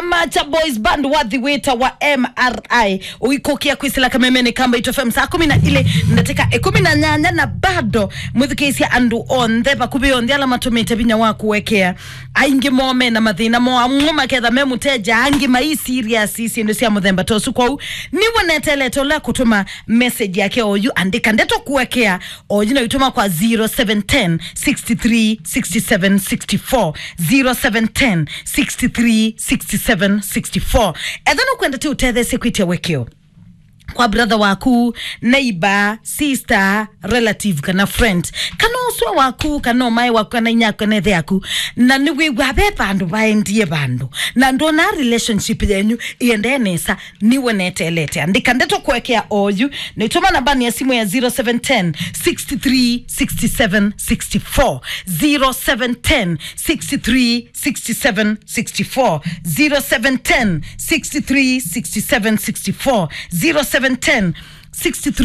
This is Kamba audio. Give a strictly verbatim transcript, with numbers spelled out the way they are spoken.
Macha Boys Band wathi wĩtawa M R I ũikũkia kwĩsĩla kamemeni ka Mbaitu F M saa kũmi na ilĩ ndatĩka ĩkũmi na nyanya, na bado mwĩthukĩĩsya andũ onthe, vakuvĩ onthe ala matũmĩte vinya wa kũekea. Aingĩ moo me na mathĩna moo, amwe maketha me mũteja, angĩ mai serious syĩndũ sya mũthemba ta ũsu. Kwoou nĩw'o netelete ũla kũtũma message yake oyu, andĩka ndeto kũekea oyu na ũitũma kwa zero seven ten, six three, six seven, six four, zero seven ten, six three, six seven, six four. Etha nũkwenda tĩ ũtetheesye kwĩtya wekeo kwa brother waku, neighbor, sister, relative, kana friend, kana ũswa waku, kana ũmae waku, kana inya yaku, kana ĩthe yaku, na nĩwĩw'a ve vandũ vaendie vandũ, na ndwona relationship yenyu ĩendee nesa, nĩw'o netelete. Andĩka ndeto kũekea oyu, na ũitũma nambani ya simu ya zero seven ten, six three, six seven, six four, zero seven ten, six three, six seven, six four, zero seven ten, six three, six seven, six four, zero seven ten, six three